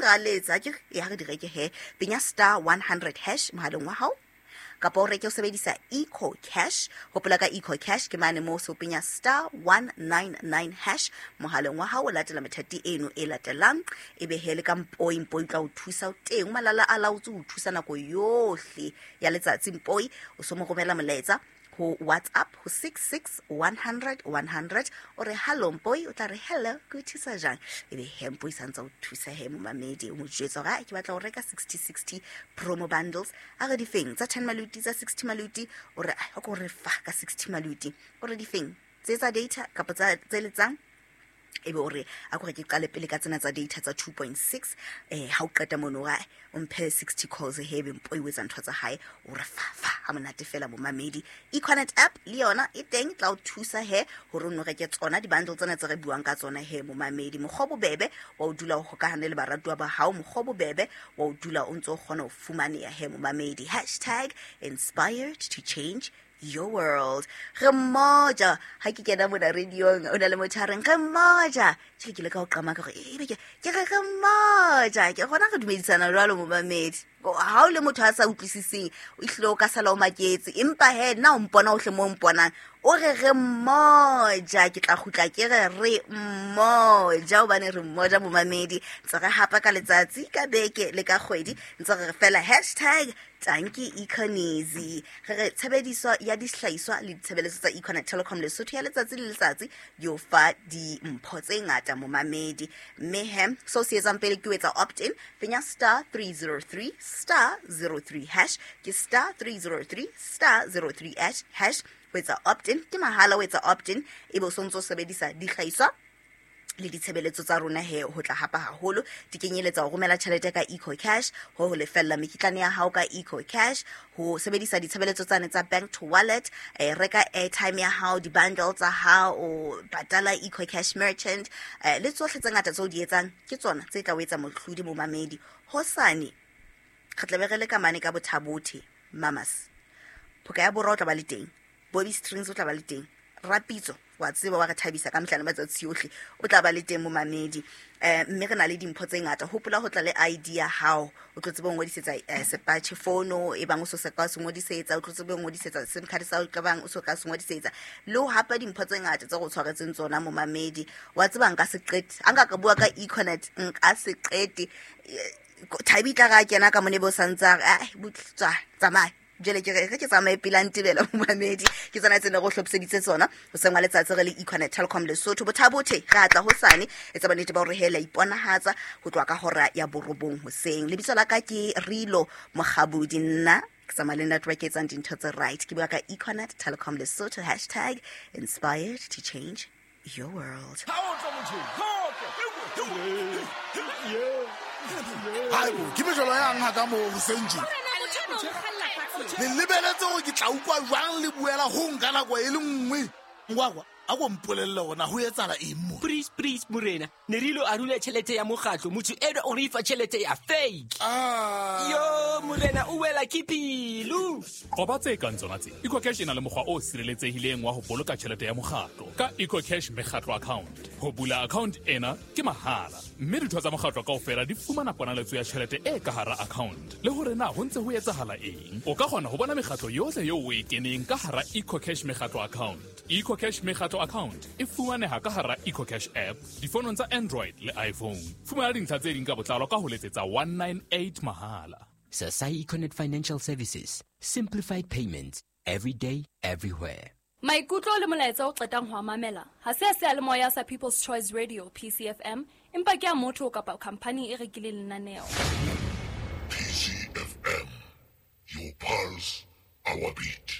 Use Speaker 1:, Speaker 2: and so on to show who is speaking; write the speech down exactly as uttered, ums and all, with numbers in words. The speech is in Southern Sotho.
Speaker 1: ra letsa ke ya re di reke he penya star one hundred hash mohaleng wa hao kapa o reke o sebedisa Eco Cash. Hopola ka Eco Cash ke mane moo so penya star one nine nine hash mohaleng wa hao, o latela methati eno e latelang, ebe he le ka Mpoi. Mpoi tla o thusa o teng malala a laotse o thusa nako yohle ya letsatsi. Mpoi o so mo romela molaetsa ho WhatsApp ho six six one hundred one hundred, o re hello Mpoi, o tla re hello ke o thusa jang, ebe he Mpoi santsa o thusa he momamedi, o mo jwetsa hore ke batla ho reka sixty sixty promo bundles, a re difeng tsa ten maluti tsa sixty maluti, o re o ko re fa ka sixty maluti, o re difeng tse tsa data kapa tsa tse letsang, ebe o re a ko re ke qale pele ka tsena tsa data tsa two point six, eh ha o qeta mono wa o mphe sixty calls he be Mpoi o etsa ntho tsa hae, o re fa fa ha monate fela momamedi. Econet app le yona e teng tla o thusa he hore o no reke tsona di-bundle tsena tse re buang ka tsona he momamedi. Mokgwa bobebe wa o dula o hokahane le baratuwa ba hao, mokgwa bobebe wa o dula o ntso o kgona ho fumaneha he momamedi. Hashtag inspired to change your world. Re mmoja ha ke kena mona radiong o na le motho a reng re mmoja, ke ke le ka o qama ka gore ebe ke ke re re mmoja, ke gona re dumedisana jwalo momamedi. Ha o le motho a sa utlwisiseng o ihlile o ka sala o maketse, empa he nna o mpona o hle mo mponang o re re mmoja, ke tla kgutla ke re re mmoja hobane re mmoja momamedi. Ntse re hapa ka letsatsi ka beke le ka kgwedi, ntse re fela hashtag tanki Econezi. Re re tshebediso ya dihlahiswa le ditshebeletso tsa Econet Telecom Lesotho ya letsatsi le letsatsi di o fa dimpho tse ngata momamedi. Mme he so se etsang pele ke o etsa opt-in, penya star three zero three star zero three hash, ke star three zero three star zero three hash hash ho etsa opt-in, ke mahala ho etsa opt-in, ebe o sontso sebedisa dihlahiswa le ditshebeletso tsa rona he ho tla hapa haholo. Di kenyeletsa ho romela tjhelete ka Eco Cash, ho ho lefella mekitlane ya hao ka Eco Cash, ho sebedisa ditshebeletso tsane tsa bank to wallet, eh, reka airtime ya hao, di-bundle tsa hao, patala Eco Cash merchant, eh, le tsohle tse ngata tseo di etsang ke tsona tse tla o etsa mohlodi momamedi. Hosane re tla be re le ka mane ka Bothabothe Mamas, Phoka ya Borwa o tla ba le teng, Bobby Strings o tla ba le teng, Rapitso wa tseba wa re thabisa ka mehla le matsatsi ohle o tla ba le teng momamedi. Eh mme re na le dimpho tse ngata. Hopola ho tla le I D ya hao, o tlo tsebe ho ngodisetsa sepatjhe fono e bang o so se ka se ngodisetsa, o tlo tsebe ho ngodisetsa SIM card sa o ka bang o so ka se ngodisetsa, le ho hapa dimpho tse ngata tse go tshwaretseng tsona momamedi. Wa tseba nka se qete, a nka ka bua ka Econet nka se qete. Thabi tla ra kena ka mone bo santsa a butswa tsamaya jele ke re ke tsamaye pele a ntebela momamedi. Ke tsona tse ne go hlophiseditse tsona ho sengwa letsatsi re le Econet Telecom Lesotho. Bothabothe re atla hosane, etsa bonnete ba hore hela iponahatsa ho tloha ka hora ya borobong hoseng. Lebitso la ka ke Rilo Mokgabudi, nna ke tsamaya le network e etsang dintho tse right. Ke bua ka Econet Telecom Lesotho, hashtag inspired to change your world.
Speaker 2: Haibo, ke mejolo yang ha ka mo hoseng tje. Le lebeletse hore ke tla utlwa jwang le buela ho nka nako e le nngwe. Ngwakwa, a ko mpolelle hore na ho etsahala eng mo.
Speaker 3: Please, please, morena. Ne re ilo arula tjhelete ya mokgatlo, motho enwa o re fa tjhelete ya fake.
Speaker 2: Ah.
Speaker 3: Yo, morena, o wela ke pelo.
Speaker 4: Qoba tse kang tsona tse. Eco Cash e na le mokgwa o sireletsehileng wa ho boloka tjhelete ya mokgatlo ka Eco Cash mekgatlo account. Ho bula account ena ke mahala, mme ditho tsa mokgatlo kaofela di fumana ponaletso ya tjhelete e ka hara account. Le hore na ho ntse ho etsahala eng. O ka kgona ho bona mekgatlo yohle eo o e keneng ka hara Eco Cash mekgatlo account. Eco Cash mekgatlo account e fumaneha ka hara Eco Cash app difonong tsa Android le iPhone. Fumana dintlha tse ding ka botlalo ka ho letsetsa one nine eight mahala.
Speaker 3: Sasai Econet Financial Services, simplified payments every day, everywhere.
Speaker 5: Maikutlo le molaetsa o qetang ho mamela ha se a seyalemoya sa People's Choice Radio P C F M, empa ke a motho kapa company e rekileng lenaneo.
Speaker 6: P C F M, your pulse, our beat.